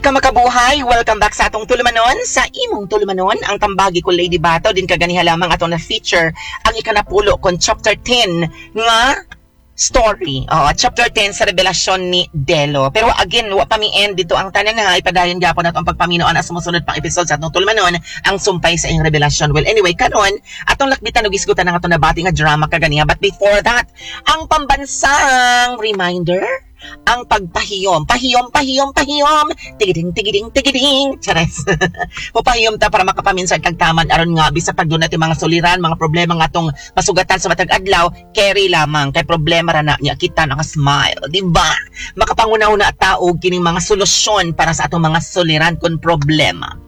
Kamakabuhay, welcome back sa atong tulumanon, sa imong tulumanon, ang Tambagi Ko, Lady Bato. Din kaganiha lamang atong na feature ang ikanapulo kon chapter 10 nga story. Oo, chapter 10 sa revelasyon ni Delo. Pero again, wa pa mi end dito ang tanan ha. Ipadayon gyapon nato ang pagpaminaw sa sumusunod pang episode sa atong tulumanon, ang sumpay sa iyong revelasyon. Well, anyway, karon atong lakbitan og isgutan ang atong nabati nga drama kaganiha. But before that, ang pambansang reminder, ang pagpahiyom. Pahiyom, pahiyom, pahiyom. Tigiding, tigiding, tigiding. Chares. Mupahiyom ta para makapaminsan kag taman aron nga bisa pag doon natin mga suliran, mga problema nga atong masugatan sa matag adlaw, carry lamang kay problema ra na niya kita naka-smile, di ba? Makapanguna-una ta og kining mga solusyon para sa atong mga suliran kon problema.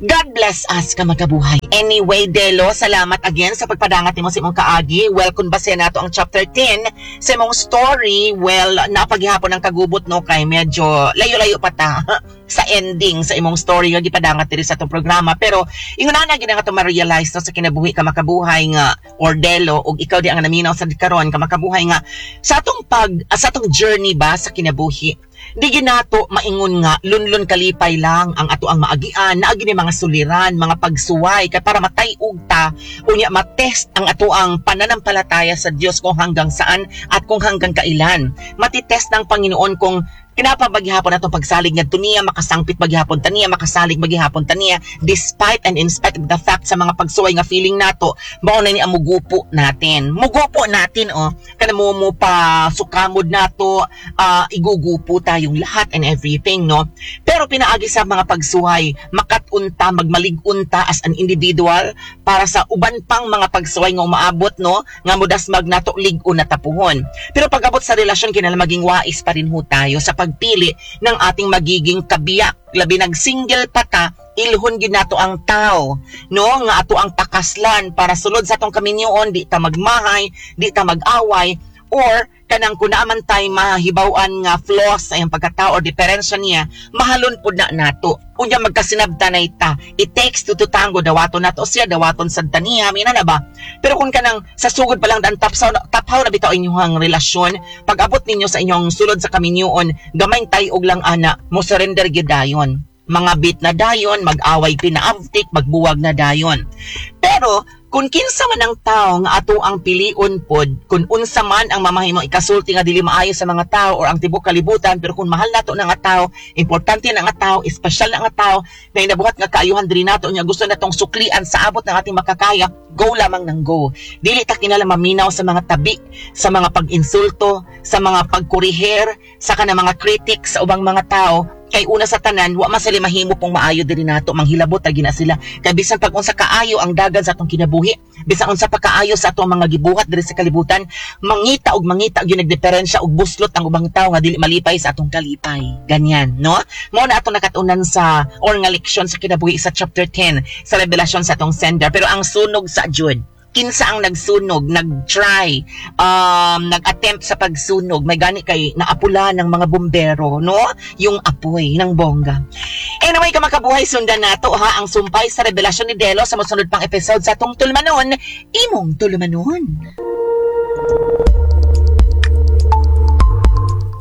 God bless us, kamakabuhay. Anyway, Delo, salamat again sa pagpadangat nimo sa imong kaagi. Well, kung base nato ang chapter 10 sa imong story, well, napaghihapon ang kagubot, no, kay medyo layo-layo pa ta sa ending sa imong story nga gipadangat diri sa atong programa. Pero ingon na gid nga ma-realize, no, sa kinabuhi, kamakabuhay, nga or Delo ug ikaw di ang naminaw sa karon, kamakabuhay, nga sa atong journey ba sa kinabuhi, di ginato maingon nga lunlun kalipay lang ang ato ang maagian. Naagi ni mga suliran, mga pagsuway kay para matay-og ta, unya matest ang ato ang pananampalataya sa Dios kung hanggang saan at kung hanggang kailan matitest ng Panginoon kung kinapabaghihapon atong pagsalig ngadto niya, makasangpit maghihapon ta niya, makasalig maghihapon ta niya despite and in spite of the fact sa mga pagsuway nga feeling nato mao na ni ang mugupo natin. Mugupo natin, oh, kana mo pa sukamod nato, igugupo tayong lahat and everything, no? Pero pinaagi sa mga pagsuway, makat-unta, magmalig-unta as an individual para sa uban pang mga pagsuway nga umaabot, no, nga mudasmag nato lig-on na tapuhon. Pero pag-abot sa relasyon, kinahanglan maging wais pa rin ho tayo sa pagpili ng ating magiging kabiyak. Labi nag single pa ta, ilhon gid nato ang tao, no, nga ato ang pakaslan para sulod sa atong kaminyoon di ta magmahay, di ta mag-away, or kanang kun naa man tay mahibaw-an nga flaws sa iyang pagkatao or diferensya niya, mahalon pud na nato. Unya magkasinabtanay ta. It takes two to tango, dawaton nato siya, dawaton sad ta niya, mina na ba? Pero kung kanang sa sugod pa lang dan tapsaw taphaw na bitaw inyong relasyon, pag abot ninyo sa inyong sulod sa kaminyoon, gamay tay-og lang ana, mo surrender gyud dayon. Mga bit na dayon, mag-away pinaavtik, magbuwag na dayon. Pero kung kinsa man ang tao nga ato ang pilion pod, kung unsa man ang mamahimo ikasulti nga dili maayo sa mga tao or ang tibok kalibutan, pero kung mahal nato na nga tao, importante na nga tao, espesyal na nga tao, na inabuhat nga kaayuhan diri nato nya gusto natong suklian sa abot ng ating makakaya, go lamang ng go. Dili ta kinahanglan maminaw sa mga tabi, sa mga pag-insulto, sa mga pagkuriher, sa kanang mga critics sa ubang mga tao, kay una sa tanan wa man sila mahimo pong maayo diri nato, manghilabot ra gina sila. Kay bisan pag unsa kaayo ang dagan sa atong kinabuhi, bisan unsa pa kaayo sa atong mga gibuhat diri sa kalibutan, mangita og mangita gyud nagdiferensya og buslot ang ubang tawo nga dili malipay sa atong kalipay. Ganyan, no? Mao na atong nakatunan sa or nga leksyon sa kinabuhi sa chapter 10 sa revelasyon sa atong sender. Pero ang sunog sa jud, kinsa ang nagsunog, nag-try, nag-attempt sa pagsunog, may gani kay naapula ng mga bumbero, no? Yung apoy ng bongga. Anyway, kamakabuhay, sundan nato ha ang sumpay sa revelasyon ni Delo sa mosunod pang episode sa atong tulumanon, imong tulumanon.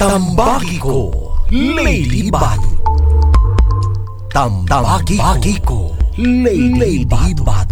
Tambagi Ko, Lady Bato. Tambagi Ko, Lady Bato.